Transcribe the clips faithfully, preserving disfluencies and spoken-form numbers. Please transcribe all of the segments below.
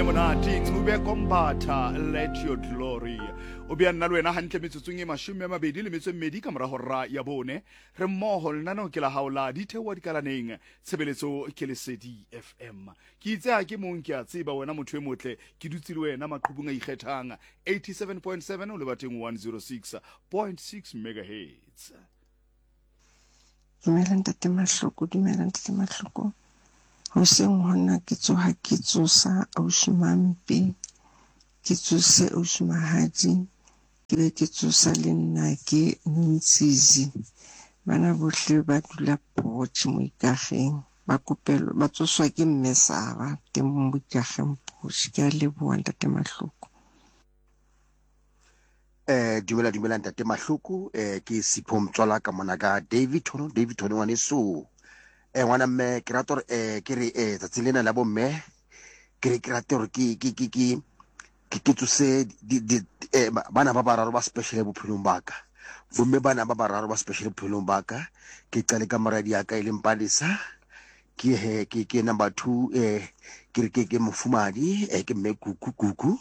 monate Ncube Kombatha let your glory o bea nna le wena hantle metsotsong e mashome a mabedi le metso e mmedi ka mora hora ya bone re mmoho lenaneo ke la hao la ditheoa dikalaneng tshebeletso ke lesedi fm ke itse ha ke mong ke a tseba wena motho e motle ke dutse le wena maqhubung a ikgethang eighty-seven point seven o lebateng one zero six point six megahertz Dumela ntate Mahloko, dumela ntate Mahloko. Hoseng hona ke tsoha ke tsosa ausi Mampe, ke tsose ausi Mahadi, ke be ke tsosa le nna ke Nontsizi. Bana bohle ba dula Potch mo Ikageng, ba kopelwa ba tsoswa ke mme Saba teng mo Ikageng Potch. Ke a leboha ntate Mahloko. Eh dumela dumela ntate Mahloko eh ke Sipho Mtswala ka mona ka Davidton Davidton ngwaneso eh ngwana mme ke rata hore eh ke re eh tsatsi lena la bomme ke re ke rata hore ke ke ke ke ke ke tsose di di eh bana ba bararo ba special bophelong ba ka bomme bana ba bararo ba special bophelong ba ka ke qale ka moradi ya ka e leng Palesa ke he ke ke number two eh ke re ke ke mofumadi eh ke mme kuku kuku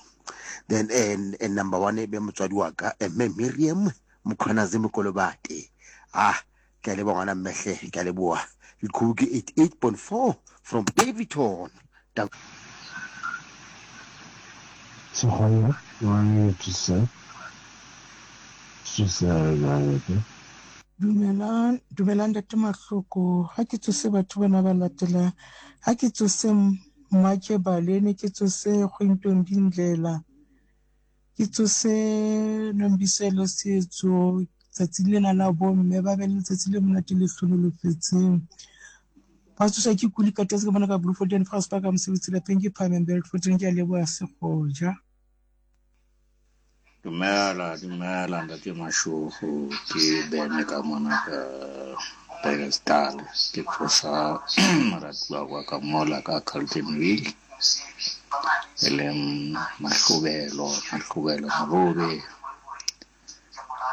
then and, and number one e be motswadi wa ka eh, mme Miriam Mkhwanazi Mokolobate ah ke a leboha ngwana mmehle ke a leboha leqhubu ke eighty-eight point four from Daveyton. Sehwai one eighty-seven Dumelang, dumelang ntate Mahloko. Ha ke tsose batho bana ba latelang. Ha ke tsose Mmatje Balene, ke tsose Kgwentong Dindlela, ke tsose Nombiselo Setso. Tsatsi lena la bomme ba be le letsatsi le monate le hlonolofetseng. Ba tsoswa ke kuli ka tetse ke bona ka Bloemfontein fa se ka mosebetsi lapeng ke Phahameng Beltfontein. Ke a leboha Sekgoja. Dumela, dumela ntate Mashego, ke Bene ka mona ka Bekesdal. Ke tsosa moratuwa wa ka mola ka Carltonville, e leng Mahlobelo, Mahlobelo Morobe.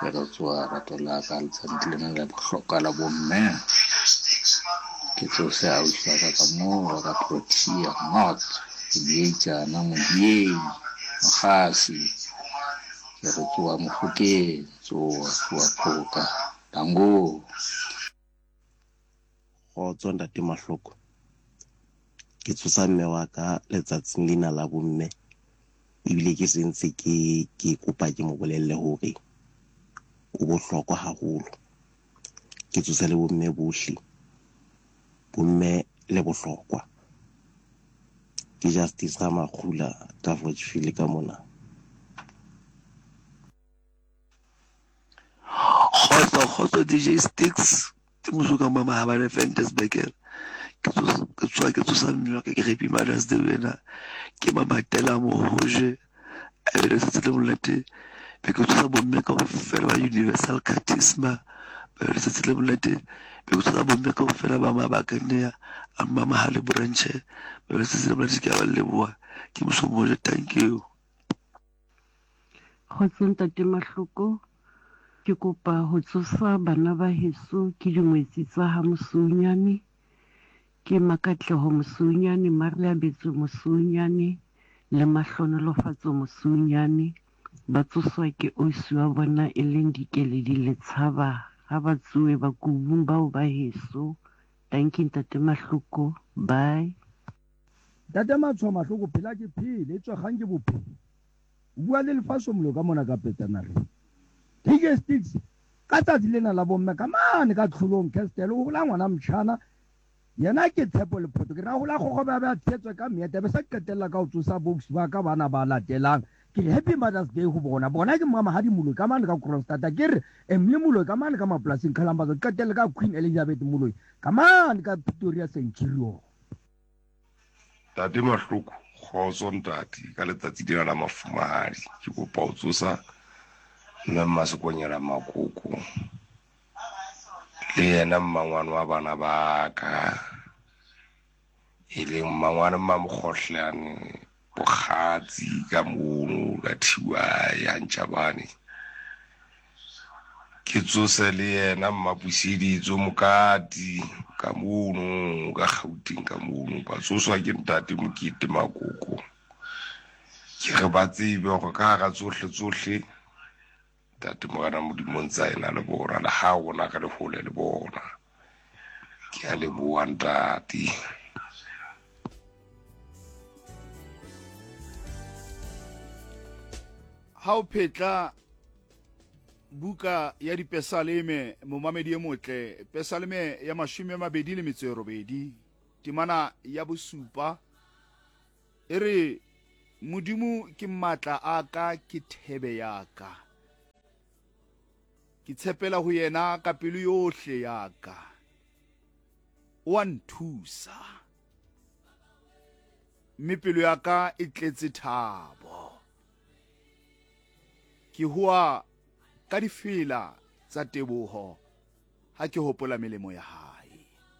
Ke re tsoha rato la ka letsatsi lena la bohlokwa la bomme. Ke tsose ausi wa ka ka moo wa ka Protea North, Modiejana, Modiei, Mokgasi. Ke re tsoha Mofokeng, tsoha, tsoha Phoka, Tango. Kgotso ntate Mahloko. Ke tsosa mme wa ka letsatsing lena la bomme. Ebile ke sentse ke ke kopa ke mo bolelle hore o bohlokwa haholo. Ke tsosa le bomme bohle. Bomme le bohlokwa. Ke Justice Ramakgula ka Forgefield ka mona. Kgotso, kgotso D J Sticks. Ke mosuka mama ha ba le Ventersburg. Ke tsosa, ke tsoha, ke tsosa mme wa ka, ke Happy Mother's Day wena. Ke mamatela mohoje. A be le letsatsi le monate. Be ke tsosa bomme kaofela ba Universal Charisma. Ba be le letsatsi le monate. Be ke tsosa bomme kaofela ba Mabakane a Mmamahale branch. Ba be le letsatsi le monate, ke a ba leboha. Ke moso moje, thank you. Kgotso ntate Mahloko. Ke kopa ho tsosa bana ba heso ke dingwetsi tsa ha Mosunyane. Ke Makatleho Mosunyane, Maria Betso Mosunyane le Mahlonolofatso Mosunyane. Ba tsoswa ke ausi wa bona e leng Dikeledi Letshaba. Ha ba tsohe ba kubung bao ba heso. Thank you ntate Mahloko. Bye. Ntate Matshwa Mahloko, phela ke phele, e tswa kgang ke bophelo. O bua le lefatshe molo ka mona ka Petanare. D J Sticks, ka tsatsi lena la bomme ka mane ka tlholong Castle, o hola ngwana motjhana. Yena ke Tshepo Lephoto. Ke ra hola kgokgo ba ba tshetswe ka meeta, be sa qetella ka ho tsosa box ba ka bana ba latelang. Ke re Happy Mother's Day ho bona. Bona ke Mamahadi Moloi ka mane ka Kroonstad. Ke re Emily Moloi ka mane ka mapolasing Kalambazo. Qetelle ka Queen Elizabeth Moloi ka mane ka Pretoria Centurion. Ntate Mahloko, kgotso ntate, ka letsatsi lena la mafumahadi ke kopa ho tsosa mme Mmasekonyela Makoko le yena mmangwane wa bana ba ka, e leng mmangwane Mmamokgohlane Bokgatsi ka mono ka Thiwa ya Ntjabane. Ke tsose le yena Mmapuseditso Mokati ka mono ka Gauteng ka mono. Ba tsoswa ke ntate Mokete Makoko Ke re ba tsebe hore ka hara tsohle tsohle Ntate Morena Modimo o ntse a ena le bona, le ha rona re le hole le bona. Ke a leboha ntate. Ha o phetla buka ya dipesaleme, momamedi e motle, pesaleme ya mashome a mabedi le metso e robedi, temana ya bosupa e re, Modimo ke matla a ka, ke thebe ya ka, ke tshepela ho yena ka pelo yohle ya ka, o a nthusa, mme pelo ya ka e tletse thabo. Ke hoa ka difela tsa teboho ha ke hopola melemo ya hae.